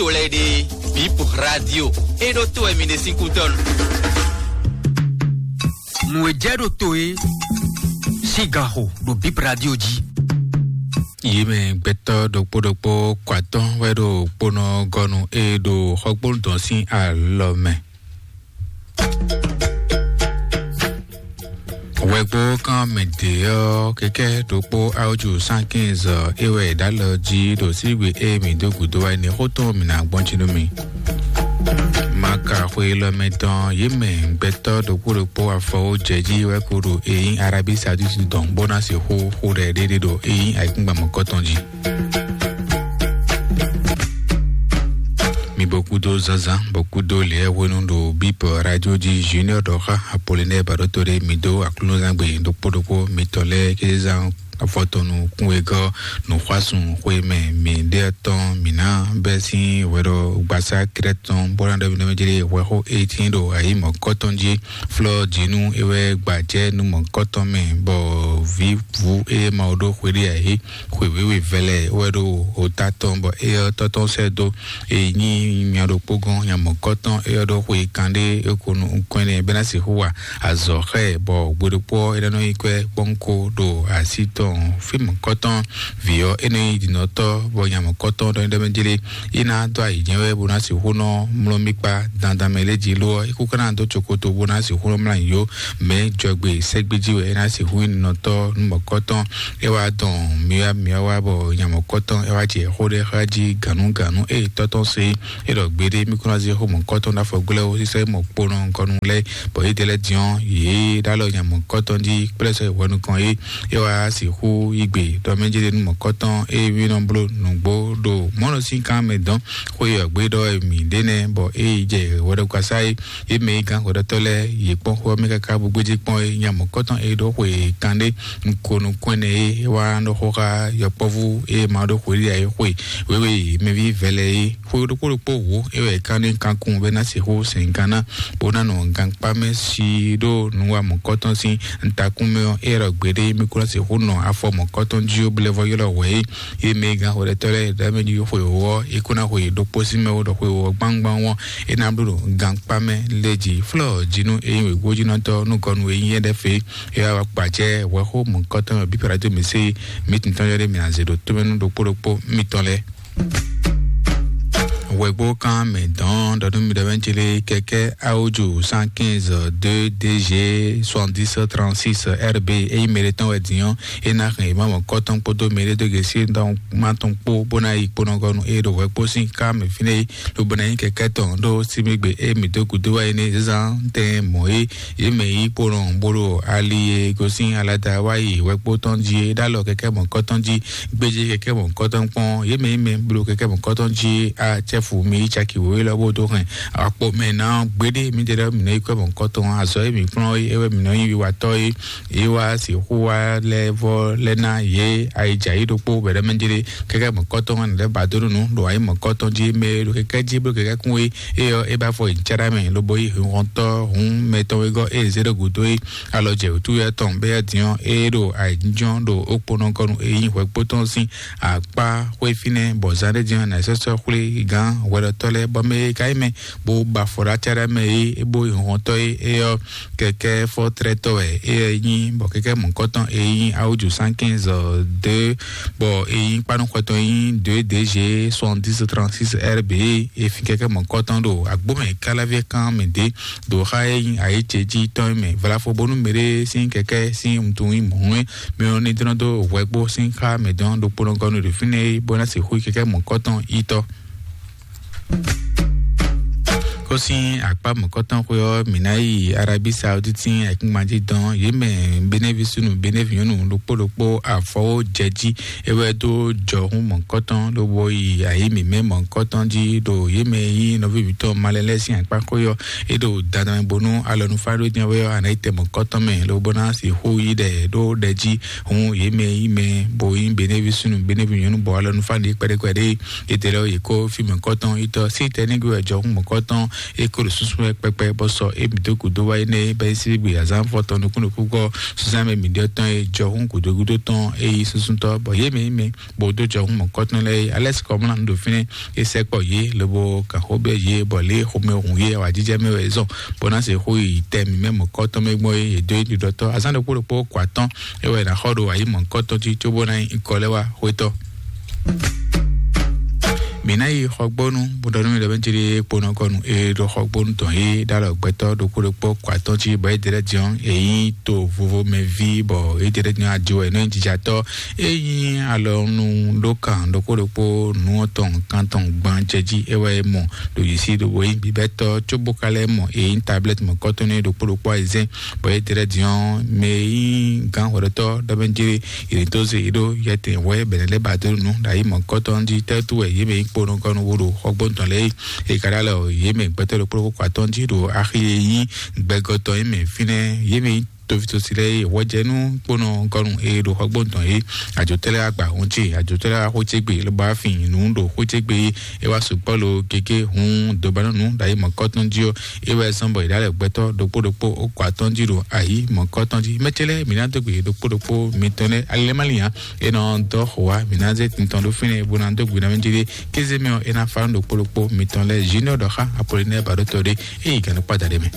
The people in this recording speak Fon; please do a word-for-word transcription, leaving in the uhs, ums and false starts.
to lɛ́ɛ ɖe, Bip Radio, é ɖó to wɛ mi ɖe sín kútɔ́nu. Nǔ e jɛ ɖo to e sín gan xo ɖo Bip Radio jí. Yě mɛ gbɛtɔ́ ɖokpó ɖokpó kɔ atɔ́ wɛ ɖo kpónɔ gɔ́nu e ɖo xɔgbónu tɔn sín alɔ mɛ. Hwɛgbo kan mɛ ɖě ɔ́, kɛkɛ ɖokpó aojú cent quinze é wɛ è ɖǎ lɔ jí ɖo sígbe e mǐ dó gǔdo wá é nɛ́ xó tɔn mǐ ná gbɔn jí nú mi. Maka xwe lɔ mɛ tɔn yě mɛ gbɛtɔ́ ɖokpó ɖokpó afɔwó jɛ jí wɛ kó ɖo e nyí Arabie Saoudite dɔn bó ná sixú xú ɖɛ ɖéɖé ɖo e nyí ayǐkúngban mɔ̌kɔtɔn jí. Mi bɔ kúdó zazan, bɔ kúdó lɛ́ɛ hwenu ɖo Bíbɔ Radio jí Junior ɖɔ xá Apollinaire Baɖótó ɖé mi dó aklúnɔzán gbe ɖokpó ɖokpó mitɔn lɛ́ɛ kézán afɔtɔnu kúnwegɔ́ nǔxwásún xwe mɛ mi ɖe tɔn mi ná bɛ́ sín hwɛɖɔ gbasá Krɛ́t tɔn bó ná ɖɔ mi ɖɔ mi jlé hwɛxó eighteen ɖo ayǐ mɔ̌kɔtɔn jí flɔ́ jǐnú é wɛ gbajɛ́ nú mɔ̌kɔtɔn mɛ bɔ vǐ vú é ma ɖó xwe ɖé ayǐ xwe wěwe vɛlɛ wɛ ɖo ota tɔn bɔ é ɔ́ tɔ́ tɔn sɛ́ dó. E nyí nya ɖokpó gɔ́n nya mɔ̌kɔtɔn é ɔ́ ɖó xwe kanɖé é ko nú nukɔn énɛ́ bɛ́ ná sixú wa azɔ̌ xá ɛ bɔ gbe ɖokpó ɔ́ é ná nɔ nyí kwɛ́ kpɔ́nko ɖo así tɔn fí mɔ̌kɔtɔn vǐ ɔ́ é nɔ nyí ɖinɔtɔ́ bɔ nya mɔ̌kɔtɔn ɖɔ é ɖɔ mɛ jlé é ná dó ayǐ jɛ́n wɛ bó ná sixú nɔ mlɔ́ mì kpá dandan mɛ lé jí ló ɔ́ é kú ká ná dó cokoto bó ná sixú nɔ mlá yó mɛ jɔgbe sɛ́gbéjí wɛ é ná sixú nyí nɔtɔ́ nú mɔ̌kɔtɔn. É wá dɔn myɔ́ myɔ́ wá bɔ nya mɔ̌kɔtɔn é wá jɛ xó ɖé xá jí gǎnúgǎnú é tɔ́tɔ́ se é ɖɔ gbeɖé mí kún ná zé xó mɔ̌kɔtɔn ɖó afɔgbɛ́ ó sísɛ mɔ kponɔ gɔnu lɛ́ɛ bɔ yě dɛ lɛ́ɛ diɔ́n yě ɖó alɔ nya mɔ̌kɔtɔn jí kplɛ́ sɔ́ yi hwɛ nukɔn é é wá sixú yí gbe ɖɔ mɛ jɛ́ nú mɔ̌kɔtɔn é wí nɔ bló nǔgbó ɖo mɔ̌ nɔ sín kan mɛ dɔn xó yi ɔ̌gbé ɖɔ mǐ ɖé nɛ́ bɔ é yi jɛ hwɛɖɔkasá é yě mɛ yi gán hwɛɖɔtɔ́ lɛ́ɛ yě kpɔ́n xó ɔ́ mɛ káká bó gbéjé kpɔ́n é nya mɔ̌kɔtɔn é ɖó xwe kanɖé nukɔn nukɔn ɛnɛ é wá nɔ xó xá yɔkpɔ́vú é ma ɖó xwe ɖé ayé xwe wéwé mɛví vɛlɛ é xwe ɖokpó ɖokpó wǒ é wɛ kán ní kankun bɛ ná sixú sɛn gán ná bó ná nɔ gankpá mɛ sí ɖó nǔwa mɔ̌kɔtɔn sín ntakún mɛ ɔ́ é ɖɔ gbeɖé mí kó ná sixú nɔ afɔ mɔ̌kɔtɔn jí ó blɛ́ vɔ ylɔ́ hwɛ é yě mɛ gán hwɛɖɛtɔ́ lɛ́ɛ ɖɔ mɛ jí xwe wǒ ɔ́ é kó ná xwe ɖokpó sín mɛ ó ɖɔ xwe wǒ ɔ́ gbangban ɔ́ é ná bló ɖo gankpá mɛ lé jí flɔ́ jí nú é nyí wěgbójínɔtɔ́ nú gɔnu e nyí é ɖɛ́ fě é wá gbacɛ hwɛxó mɔ̌kɔtɔn bíbɛrɛ dó mɛ sé mí tintɔn yɔ ɖé mɛ azě ɖo tómɛnú ɖokpó ɖokpó mitɔn lɛ́ɛ. Wɛgbó kan mɛ dɔn ɖɔ nú mi ɖɔ bɛ ŋutsu lé kɛkɛ awoju cent quinze deux D G soixante-dix trente-six R B eyi mɛ ɖe tɔn wɛ din ɔ́ e ná hɛn ma mɔ kɔtɔn kpódó mɛ ɖe dó gesi dɔn ma tɔn kpó bó ná yi kpónɔgɔnu e ɖo wɛgbó sín ká mɛ fínɛ́ yi lobo ná nyí kɛkɛ tɔn ɖó símígbe e mǐ dó gǔdo wá yi ní zán tɛn mɔ̌ é yě mɛ yi kpónɔ bó ɖo ali e gosín alada wá yi wɛgbó tɔn jí é ɖó alɔ kɛkɛ mɔ kɔtɔn jí gbéjé kɛkɛ mɔ̌kɔtɔn kpɔ́n yě mɛ yi mɛ bló kɛkɛ mɔ̌kɔtɔn jí acɛ́fu mi yi caki wěwé lɔ bó dó hɛn akpo mɛ ná gbéɖé mi jɛ ɖɔ mi nɔ yi kɔ mɔ̌kɔtɔn azɔ yi mi kplɔ́n yi ewɛ mi nɔ yi wiwatɔ yi yi wá sixú wá lɛ vɔ lɛ ná yě ayidza yi ɖokpó bɛɖɛ mɛ jɛ ɖe kɛkɛ mɔ̌kɔtɔn hɛn lɛ ba dó nunu ɖo ayi mɔ̌kɔtɔn jí mɛ ɖo kɛkɛ jí bló kɛkɛ kún yi eyɔ e ba fɔ yi jara mɛ lobo yi hɔntɔ hun mɛtɔn wegɔ e zé ɖo gǔdo yi alɔ jɛ wǔtú yɛ tɔn bɛ yɛ diɔ e ɖo ayidjɔ ɖo okponɔ kɔnu e yi hwɛkpotɔn sín akpá xwé fínɛ́ bɔ zán ɖé din ɔ́ nà sɔ́ sɔ́ xwlé gán hwɛɖɔtɔ́ lɛ́ɛ bɔ mɛ e ka nyí mɛ bó ba afɔ ɖó acá ɖé mɛ é é bó nyí hɔntɔ́ é é ɔ́ kɛkɛ́ fɔ́trɛ́tɔ́ wɛ é nyí bɔ kɛkɛ́ mɔ̌kɔtɔn é nyí awújǔ cent quinze deux bɔ é nyí kpánúxɔtɔn é nyí deux D G soixante-dix trente-six R B é fin kɛkɛ́ mɔ̌kɔtɔn ɖo agbómɛ káláví kan mɛ dě ɖo xá é nyí ayǐ ce jí tɔn é mɛ vlafo bónú mɛ ɖé sín kɛkɛ́ sín wuntun nyí mɔ̌ é mɛ ɔ́ ní dlɔ́n dó hwɛgbó sín xá mɛ dɔn ɖokpónɔ gɔ́ nú ɖo fínɛ́ é bó ná sixú yi kɛkɛ́ mɔ̌kɔtɔn yítɔ́. Kó sín akpá mɔ̌kɔtɔn xwé ɔ́, mǐ ná yi Arabie Saoudite sín ayǐkúngban jí dɔn yě mɛ Benevi súnnu Benevi nyɔ́nu ɖokpó ɖokpó afɔwó jɛ jí é wɛ dó jɔhún mɔ̌kɔtɔn lobo yi ayǐ mǐmɛ́ mɔ̌kɔtɔn jí ɖo yě mɛ yí nɔví mǐtɔn malɛ lɛ́ɛ sín akpá xwé ɔ́ é ɖo dandan mɛ bónú alɔnufá ɖó jɛ́n wɛ ɔ́, a nǎ yi tɛ mɔ̌kɔtɔn mɛ lobo ná sixú yi ɖɛ ɖó ɖɛ jí. Hǔn yě mɛ yí mɛ bo nyí Benevi súnnu Benevi nyɔ̌nu bɔ alɔnufá ɖě kpɛɖékpɛɖé yětɛ́ lɛ́ɛ yě kó fí mɔ̌kɔtɔn yítɔ́ sí tɛnígbe wɛ jɔhún mɔ̌kɔtɔn E ko ɖo susu wɛ kpɛkpɛ bɔ sɔ e mi dó gǔdo wá énɛ́ bɛ é sí gbe azán fɔ tɔn nukún nukún gɔ susu mɛ mi ɖe tɔn e jɔ hún gǔdo gúdo tɔn e yi susu tɔ bɔ yé mɛ mɛ bɔ dó jɔ hún mɔkɔtɔn lɛ alɛ sikɔ mla nu ɖo fínɛ e sɛ kpɔ yé lobo kan xó bɛ yé bɔ lé xomɛ hun yé awa jijɛ mɛ wɛ zɔn bɔ na se xó yi tɛ mi mɛ mɔkɔtɔn mɛ gbɔn yé do yi ɖiɖɔ tɔ azán ɖokpó ɖokpó kɔ atɔn e wɛ na xɔ ɖo ayi mɔkɔtɔn ti tso bó na yi kɔ lɛ wá xwetɔ. Mi ná yi xɔgbónu bó ɖɔ nú mi ɖɔ bɛ jeli kponɔ kɔnu e ɖo xɔgbónu tɔn e ɖo alɔ gbɛtɔ ɖokpó ɖokpó kɔ atɔn jí bɔ e ɖe lɛ diɔn e nyí to vovo mɛ ví bɔ e ɖe lɛ diɔn ajo e nɔ nyí jijatɔ e nyí alɔnu ɖó kan ɖokpó ɖokpó nu tɔn kan tɔn gban jɛ jí e wɛ mɔ ɖo yi sí ɖo wo nyí bibɛtɔ tso bó ka lɛ mɔ e nyí tablɛt mɔ kɔtɔn e ɖokpó ɖokpó ayizɛn bɔ e ɖe lɛ diɔn mɛ e nyí gán hwɛɖɔtɔ ɖɔ bɛ jeli yětɔn se yě ɖo yɛtɛn wɛ bɛnɛ lɛ ba dó nu ɖo ayi mɔkɔtɔn jí tɛtu wɛ yě mɛ yi kpo nukɔnu wo ɖo xɔgbɔntɔn lɛ yi e ka ɖa lɛ o yě mɛ gbɛtɔ ɖokpó ɖokpó kɔ atɔn jí ɖo axi e nyí gbɛgɔtɔ yi mɛ fínɛ yě mɛ yi tovitosi lɛ yi wɔjɛnu kponɔ kɔnu e ɖo xɔgbɔntɔn yi adzotɛlɛ agba ŋutsi adzotɛlɛ axɔtsegbe lɔba fin nu ɖo xɔtsegbe yi e wa sukpɔ lo gege hun dobanɔnu ɖo ayi mɔkɔtɔn jí o e wɛ zɔn bɔ yi ɖa lɛ gbɛtɔ ɖokpó ɖokpó o kɔ atɔn jí ɖo ayi mɔkɔtɔn jí mɛtsɛ lɛ mi na dó gbe ɖokpó ɖokpó mitɔn lɛ alilɛmaliyan e nɔ dɔ xɔ wa mi na zɛ tintɔn ɖo fínɛ bo na dó gbe na mi jí ɖe kéze mɛ ɔ e na fa ɖokpó ɖokpó mitɔn lɛ junior dɔ xa apolinɛ ba ɖo tɔ ɖe e yi gɛnɛ kpa da ɖe mɛ.